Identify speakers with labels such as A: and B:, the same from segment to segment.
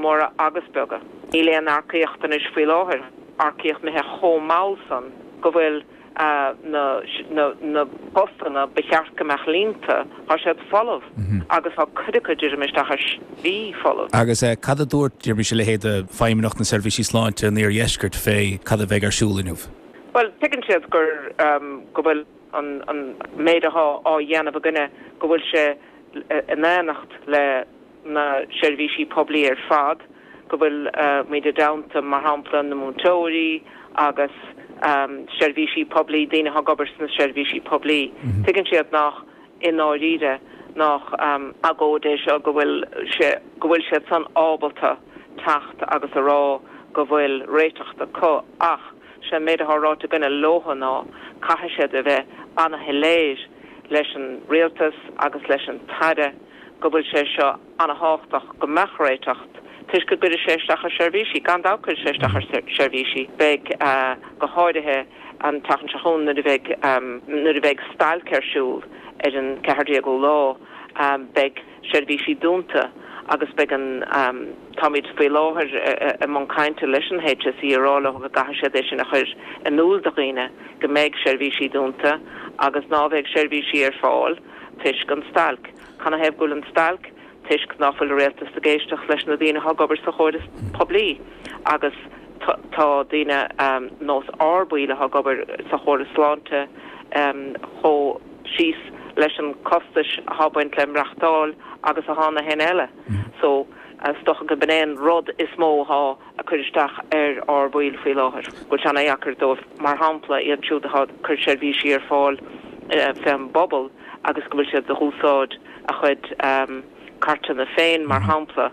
A: móra agus beaga. Níl aon earcaíocht anois faoi láthair, earcaíocht imithe chomh mall san go bhfuil na postanna ba cheart go mbeadh líonta, tá siad folamh agus tá cuid acu deirim isteach ar slí folamh.
B: Agus cad a dúirt, deirimís, a leithéid de Feidhmeannacht na Seirbhísí Sláinte an Iardheiscirt fé cad a bheidh ar siúl inniu?
A: Bhuel, tuigeann siad gur, go bhfuil an méid athá á dhéanamh againne, go bhfuil sé in éineacht le na seirbhísí poiblí ar fad, go bhfuil muid i dteannta, mar shampla, na múinteoirí agus seirbhísí poiblí, daoine atá ag obair sna seirbhísí poiblí. Tuigeann siad nach, i ndáiríre, nach agóid é seo, go bhfuil sé, go bhfuil siad san ábalta teacht agus a rá go bhfuil réiteach acu ach sé an méid atá ráite againne leotha ná caithfidh siad a bheith ana-shoiléir leis an rialtas agus leis an tAire go bhfuil sé seo ana-thábhachtach go mbeadh réiteach toisc go gcuirfidh sé isteach ar seirbhísí. Gan dabht cuirfidh sé isteach ar seirbhísí. Beidh, go háirithe an tseachtain seo chugainn nuair a bheidh, nuair a bheidh stailc ar siúl ar an 14ú lá, beidh seirbhísí dúnta agus beidh an, táimid faoi láthair i mbun cainte leis an HSE a rá leo go gcaithfidh siad é sin a chur in iúl do dhaoine go mbeidh seirbhísí dúnta agus ná bheidh seirbhísí ar fáil toisc an stailc. Canathaobh go bhfuil an stailc? Toisc ná fuil an rialtas ag éisteacht leis na daoine atá ag obair sa chóras poiblí agus tá daoine nós ár baill atá ag obair sa chóras sláinte chomh síos leis an costais atá ag baint le maireachtáil agus atá na héinne eile. So is dócha go b'in é an rud is mó atá ag cur isteach ar ár bhaill faoi láthair, go bhfuil sé ana-dheacair dóibh, mar shampla, iad siúd atá ag cur seirbhísí ar fáil fén bpobal agus go bhfuil siad ag úsáid a chuid cairteanna féin, mar shampla,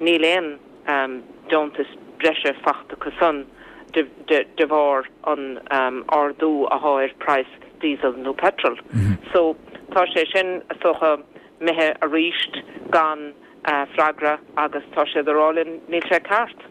A: níl aon deontas breise fachta acu san de bharr an ardú athá ar praghas diesel nó petrol. So, tá sé sin, is dócha, imithe aríst gan freagra agus tá siad ag rá linn níl sé ceart.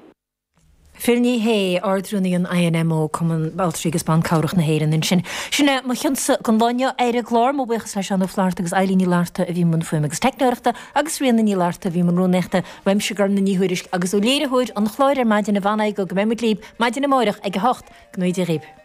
C: Phil Ní Sheaghdha, Ard-Rúnaí an INMO, Cumann Altraí agus Ban Cabhrach na hÉireann ansin. Sin é mo chionsa don lá inniu ar an gclár. Mo bhuíochas le Seán Ó Flatharta agus Eilín Ní Fhlatharta a bhí i mbun fuaime agus teicneoireachta agus Ríona Ní Fhlatharta a bhí i mbun rúnaíochta. Uaimse Gormfhlaith Ní Thuairisg agus ó léiritheoir an chláir ar maidin, Yvonne Igoe, go mbeidh muid libh maidin amárach ag 8. Go ngnóthaí Dia dhaoibh.